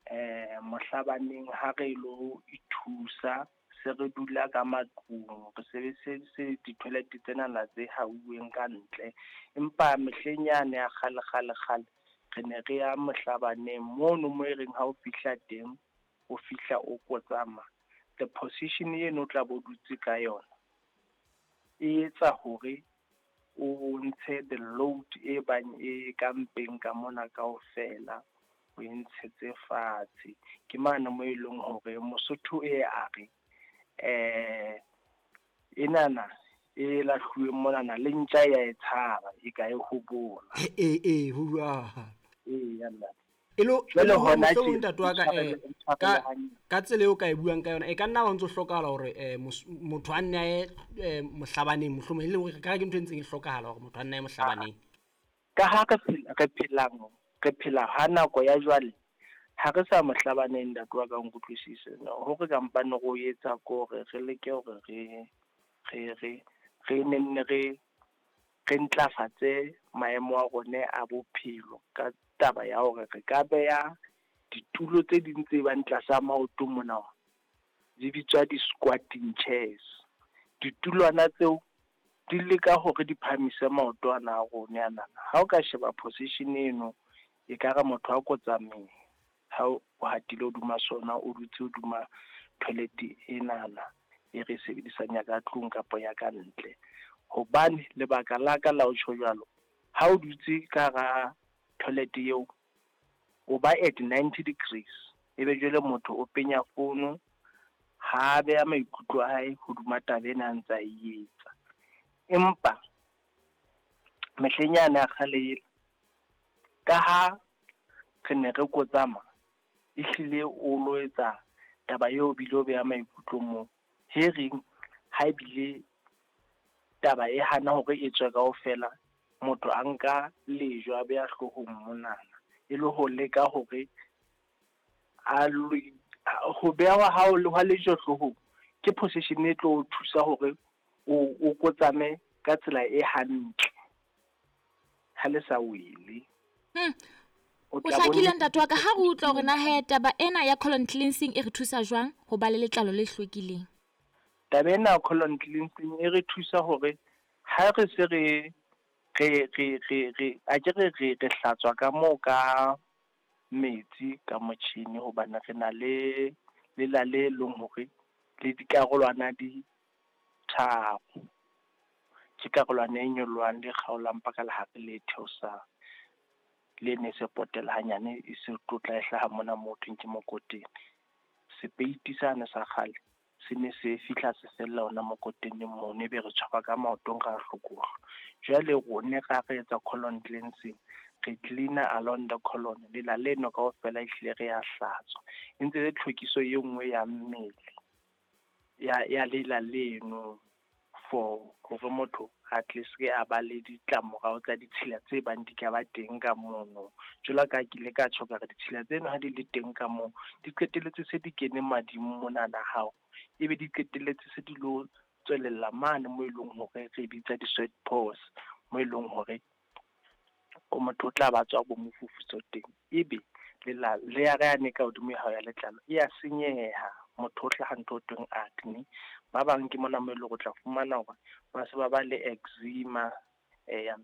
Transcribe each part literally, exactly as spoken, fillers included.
Eh mohlabaneng ha re lo ithusa se re dula ka matlung, re sebedise di-toilet tsena tse hauweng ka ntle. Empa mehleng yane ya kgale kgale kgale re ne re ya mohlabaneng mono mo e reng ha o fihla teng, o fihla o kotsama. The position eno o tla be o dutse ka yona, e etsa hore o ntshe the load e bang e ka mpeng ka mona kaofela, o e ntshetse fatshe. Ke mane moo e leng hore Mosotho e a re, enana e lahluweng monana le ntja ya e tshaba e ka e hobola. Ee ee, ho jwalo. Eya ntate. E lo Jwale hona mohlomong tje, ntate wa ka, o eh, tshwarele- o ka tshwarele hantle. ka tsela eo ka e buang ka yona, e ka nna wa ntso hlokahala hore eh, motho a nne a ye eh, mohlabaneng, mohlomong e leng hore ka ke ntho e ntseng e hlokahala hore motho a nne a ye mohlabaneng. Ka ha re phela, re phelang, re phela ha nako ya jwale, ha re sa mohlabaneng ntate wa ka, nkutlwisise. Hore kampane re o etsa ko hore re leke hore re re re re nenne re re ntlafatse maemo a rona a bophelo ka taba ya hore re ka beha ditulo tse ding tse bang tlasa maoto mona, di bitswa di-squatting chairs. Ditulwana tseo di leka hore di phahamise maoto ana a rona anana. Ha o ka sheba position eno, ekare motho a kotsameng ha o hatile hodima sona, o dutse hodima toilet enana e re e sebedisang ya ka tlung kapa ya ka ntle. Hobane lebaka la ka la ho tjho jwalo, ha o dutse ka hara toilet eo, o ba at ninety degrees, ebe jwale motho o penya fono, ha beha maikutlo a hae hodima taba ena a ntsa e etsa. Empa mehleng yane ya kgale ele, ka ha re ne re kotsama, ehlile o lo etsa taba eo bile o beha maikutlo moo. He reng ha ebile taba e hana hore e tswe kaofela, motho a nka lejwe a beha hloohong monana, e le ho leka hore a ho beha ha hwa lejwe hloohong ke position e tlo o thusa hore o o kotsame ka tsela e hantle, ha le sa wele. Hmm. O O tla bone- hlakile ntate wa ka, ha re utlwa hore na he taba ena ya colon cleansing e re thusa jwang ho ba le letlalo le hlwekileng. Taba ena ya colon cleansing e re thusa hore ha re se re re re re re a ke re re re hlatswa ka moo ka metsi ka motjhini, hobane re na le lela le leng hore le dikarolwana di tharo. Ke karolwana e nyolohang le kgaolang paka lehare le theosang. Le ne se potela hanyane e se tlotla e hlaha mona mo thweng ke mokoteng. Sepeiti sane sa kgale se ne se fihla se fella hona mokoteneng mono, ebe re tshwarwa ka maotong ra hlokohlwa. Jwale rone ra re etsa colon cleansing, re clean-a along the colon, lela leno kaofela ehlile re ya hlatswa. E ntse le tlhwekiso e nngwe ya mmele ya ya lela leno for hore motho a tle se a ba le ditlamorao tsa ditshila tse bang di ka ba teng ka mono. Jwalo ka ha ke ile ka tjho ka re ditshila tseno ha di le teng ka moo, di qetelletse se di kene mading monana hao, ebe di qetelletse se di lo tswelella mane mo eleng hore re bitsa di-sweat pores, mo eleng hore o motho o tla ba tswa bo mofufutso teng. Ebe lela layer yane ka hodimo ya hao ya letlalo e ya senyeha, motho o hlaha ntho ho thweng acne. Ba bang ke mona mo eleng hore o tla fumana hore ba se ba ba le eczema, eya.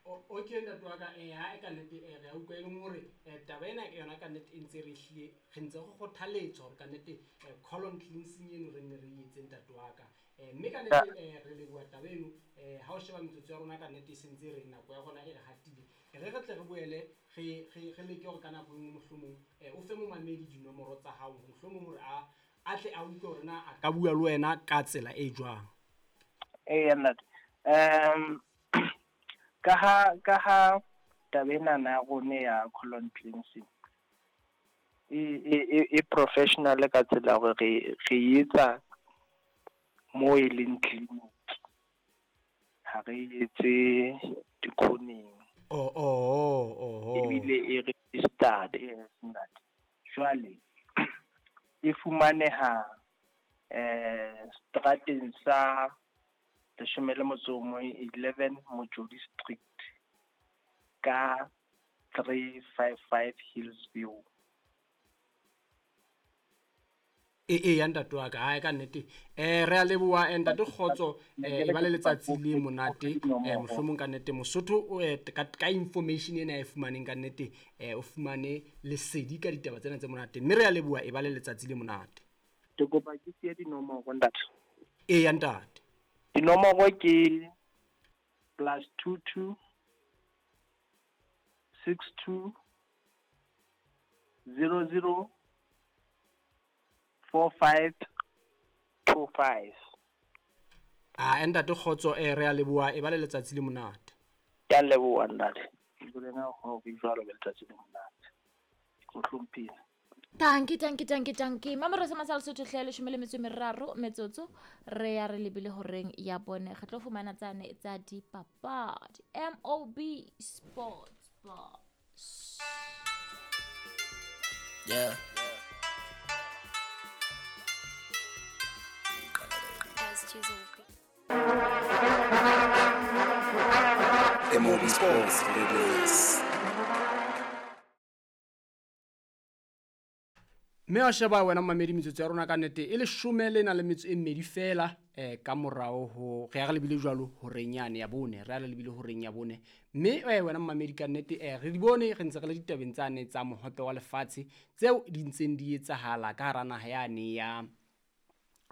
O- okay ntate wa ka, eh, ha e ka nnete, eh, re a utlwa e leng hore, eh, taba ena ke yona ka nnete e ntse re hlile, re ntse re kgothaletswa hore ka nnete, eh, colon cleansing eno re nne re e etse ntate wa ka. Eh, mme ka nnete, eh, re leboha taba eno, eh, ha o sheba metsotso ya rona ka nnete e sentse re nako ya rona e re hatile. E re re tle re boele re, re, re leke hore ka nako e nngwe mohlomong, eh, o fe momamedi dinomoro tsa hao, mohlomong hore a, a tle a utlwe hore na a ka bua le wena ka tsela e jwang. Eya ntate. Um ka ha, ka ha taba ena ya rona ya colon cleansing e, e, e, e professional ka tsela hore re, re etsa mo e leng clinic, ha re etse dikhoneng. Oh, oh, oh, oh. Ebile e registered, yes, ntate. Jwale e fumaneha, eh, strateng sa leshome le motso o mong, eleven Mojodi Street, ka three five five Hillsview. E e ya ntate wa ka hae ka nnete eh re a leboha ntate Kgotso eh e ba le letsatsi le monate eh mohlomong ka nnete Mosotho o ka ka information ena e fumaneng ka nnete eh o fumane lesedi ka ditaba tsena tse monate mme re a leboha e ba le letsatsi le monate. Ke kopa ke siye dinomoro ntate. E ya ntate. Dinomoro ke plus two two six two zero zero four five two five. Ah ntate Kgotso eh re a leboha e ba le letsatsi le monate. Ke a leboha ntate. Ke lena ho ke jwalo le letsatsi le monate. Ke hlomphile. Tanki tanki tanki tanki. Mamoro sa masal Sotho hle leshome le metso e meraro metsotso re ya re lebile horeng ya bone re tlo fumana tsane tsa dipapadi M O B Sports Boss. Yeah. M O B Sports Radios. Mme wa sheba wena mamedi metsotso ya rona ka nnete e leshome le na le metso e mmedi fela eh ka morao ho re ya re lebile jwalo horeng yane ya bone re ya re lebile horeng ya bone mme eh wena mamedi ka nnete eh re di bone re ntse re le ditabeng tsane tsa mohope wa lefatshe tseo di ntseng di etsahala ka hara naha yane ya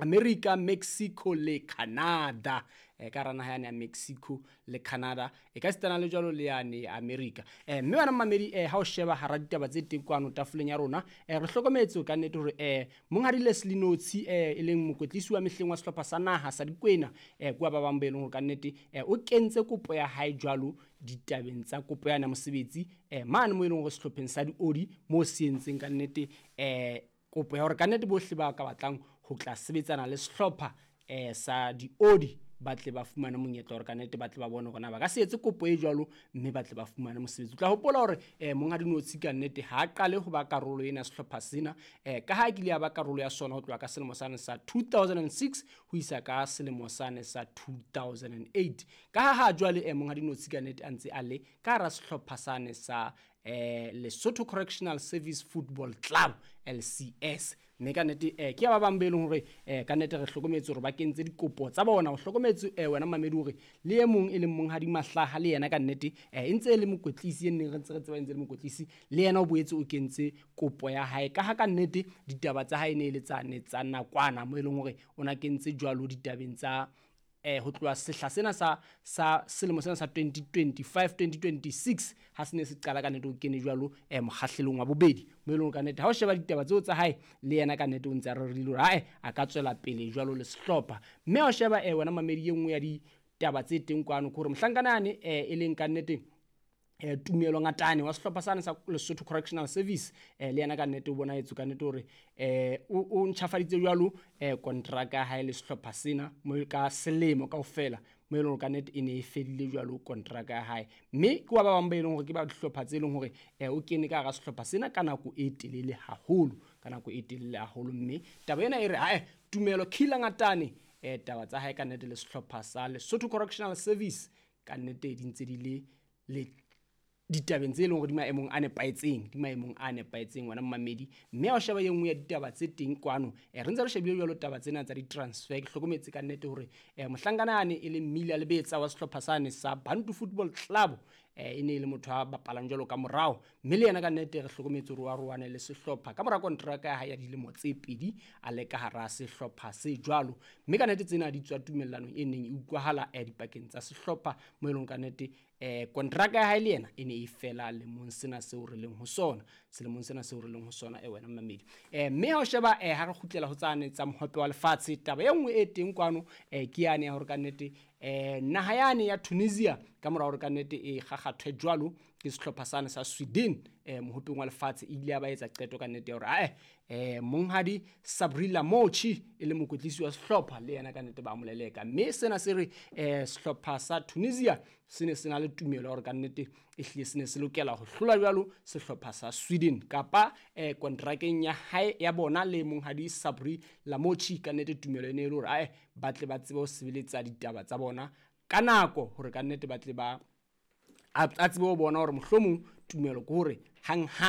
America, Mexico le Canada eh ka rana ya Mexico le Canada e ka sitana le jwalo le yane America eh mme wena mamedi eh ha o sheba hara ditaba tse teng kwano tafoleng ya rona eh re hlokometse ka nnete hore eh monghadi Leslie Notsi eh e leng mokwetlisi wa mehleng wa sehlopha sa naha sa Dikwena eh kwa ba bang ba eleng hore ka nnete eh o kentse kopo ya hae jwalo ditabeng tsa kopo ya mosebetsi eh mane mo eleng hore sehlopheng sa diodi mo se entseng ka nnete eh kopo ya hore ka nnete bohle ba ka batlang ho tla sebetsana le sehlopha eh sa diodi ba tle ba fumane monyetla hore ka nnete ba tle ba bone hore na ba ka se etse kopo e jwalo mme ba tle ba fumane mosebetsi. O tla hopola hore eh monghadi Notsi ka nnete ha qale ho ba karolo ena sehlopha sena eh ka ha kile ya ba karolo ya sona ho tloha ka selemo sane sa two thousand six ho isa ka selemo sane sa two thousand eight. Ka ha ha jwale eh monghadi Notsi ka nnete a ntse a le ka hara sehlopha sane sa eh Lesotho Correctional Service Football Club L C S. Mme ka nnete eh ke ba bang be leng hore eh ka nnete re hlokometse hore ba kentse dikopo tsa bona o hlokometse eh wena mamedi hore le e mong e leng monghadi Mahlaha le yena ka nnete eh e ntse e le mokwetlisi e neng re ntse re tseba ntse le mokwetlisi le yena o boetse o kentse kopo ya hae ka ha ka nnete ditaba tsa hae ne e le tsa ne tsa nakwana mo e leng hore o na kentse jwalo ditabeng tsa eh ho tloha sehla sena sa sa selemo sena sa twenty twenty-five twenty twenty-six ha se ne se qala ka nnete o kene jwalo eh mokgahlelong wa bobedi mo eleng ka nnete ha o sheba ditaba tseo tsa hae le yena ka nnete o ntse a rerile hore hae a ka tswela pele jwalo le sehlopha mme ha o sheba eh wena mamedi e nngwe ya ditaba tse teng kwano ke hore mohlankana yane eh e leng ka nnete eh Tumelo Ngatane wa sehlopha sane sa Lesotho Correctional Service eh le yena ka nnete o bona etso ka nnete hore eh o ntjhafaditse jwalo eh contract ya hae le sehlopha sena mo ka selemo kaofela mo eleng hore ka nnete e ne e fedile jwalo contract ya hae mme ke wa ba bang ba eleng hore ke ba dihlopha tse leng hore eh o kene ka hara sehlopha sena ka nako e telele haholo ka nako e telele haholo mme taba ena e re hae Tumelo Khila Ngatane eh taba tsa hae ka nnete le sehlopha sa Lesotho Correctional Service ka nnete di ntse di le le ditabeng tse leng hore di maemong a nepahetseng di maemong a nepahetseng wena mamedi mme ha o sheba e nngwe ya ditaba tse teng kwano eh re ntse re shebile jwalo taba tsena tsa di-transfer ke hlokometse ka nnete hore eh mohlankana yane e leng Mmila Lebetsa wa sehlopha sane sa Bantu Football Club eh e ne e le motho a bapalang jwalo ka morao mme le yena ka nnete re hlokometse hore wa roane le sehlopha ka mora kontraka ya hae ya dilemo tse pedi a le ka hara sehlopha se jwalo mme ka nnete tsena di tswa tumellanong e neng e utlwahala eh dipakeng tsa sehlopha mo e leng ka nnete eh kontraka ya hae le yena e ne e fela lemong sena seo re leng ho sona selemong sena seo re leng ho sona e wena mamedi eh mme ha o sheba eh ha re kgutlela ho tsane tsa mohope wa lefatshe taba e nngwe e teng kwano eh ke yane ya hore ka nnete eh naha yane ya Tunisia ka mora hore ka nnete e kgakgathwe jwalo ke sehlopha sane sa Sweden eh mohopeng wa lefatshe e ile ya ba etsa qeto ka nnete ya hore ae eh monghadi Sabri Lamouchi e le mokwetlisi wa sehlopha le yena ka nnete ba moleleka mme sena se re eh sehlopha sa Tunisia se ne se na le tumelo hore ka nnete e hlile se ne se lokela ho hlola jwalo sehlopha sa Sweden kapa eh kontrakeng ya hae ya bona le monghadi Sabri Lamouchi ka nnete tumelo e ne e le hore ae ba tle ba tsebe ho sebeletsa ditaba tsa bona ka nako hore ka nnete ba tle ba A a tsebe ho bona hore mohlomong tumelo ke hore hang hang.